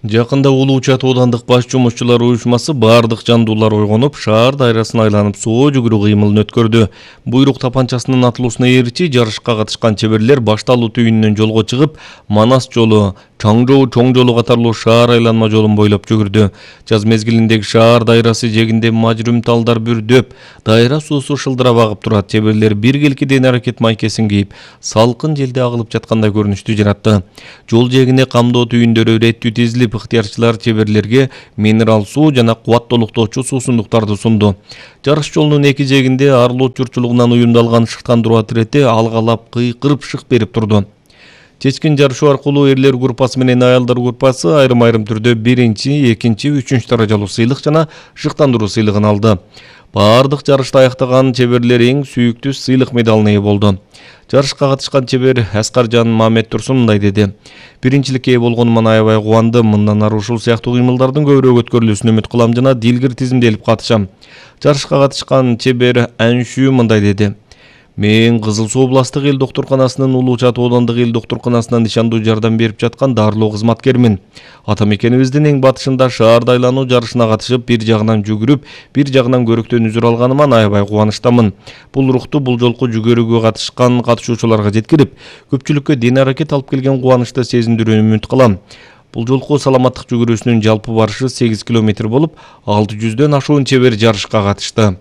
Жакында Улуу Чат оодандык баш жумушчулар уюшмасы бардык жандуулар ойгонуп, шаар дайрасын айланып соо жүгүрүү кыймылын өткөрдү. Буйрук тапанчасынын атылуусуна ээрчи жарышка катышкан чеберлер Башталуу түйүнүнөн жолго чыгып, Манас жолу, Чаңжоо чоң жолу катарлуу шаар айланма жолун бойлоп жүгүрдү. Жаз мезгилиндеги шаар дайрасы жегинде мажрүм талдар бүрдөп, дайра суусу шылдырап агып турат. Чеберлер биргелки ден аракет майкесин кийип, салкын желде агылып жаткандай көрүнүштү жаратты. Жол жээгине камдоо түйүндөрү иреттүү тизилип, ыктыярчылар чеберлерге минерал суу жана кубат толуктоочу суусундуктарды сунду. Жарыш жолунун эки жээгинде Арлоот журтчулугунан уюмдалган шыктандыруу отирети алгалап кыйкырып шык берип турду. Чечкин жарышуу аркылуу эрлер группасы менен аялдар группасы айрым-айрым түрдө биринчи, экинчи, үчүнчү даражалуу сыйлык жана шыктандыруу сыйлыгын алды. Бардык жарышты аяктаган чеберлер эң сүйүктүү сыйлык медалына ээ болду. Жарышка катышкан чебер Аскаржан Мамет Турсун мындай деди: "Биринчиликке ээ болгонуман аябай кубандым. Мындан ары ушул сыяктуу кыймылдардын көбүрөөк өткөрүлүүсүн үмүт кылам жана дилгир тизимделип катышам." Жарышка катышкан чебер Аншүү мындай деди: "Мен Кызыл Суу областтык эл доктурканасынын Улуу Чат оодандык эл доктурканасынан ишандуу жардам берип жаткан дарылоо кызматкермин. Ата мекенибиздин эң батышында шаарда айлануу жарышына катышып, бир жагынан жүгүрүп, бир жагынан көрөктөн үзүр алганыма аябай кубанычтамын. Бул рухту бул жолку жүгөрүгө катышкан катышуучуларга жеткирип, көпчүлүккө ден аракет алып келген кубанычты сезиндирүүнү үмүт кылам. Бул жолку саламаттык жүгүрүүсүнүн жалпы барышы 8 километр болуп, 600дөн ашуун чебер жарышка катышты."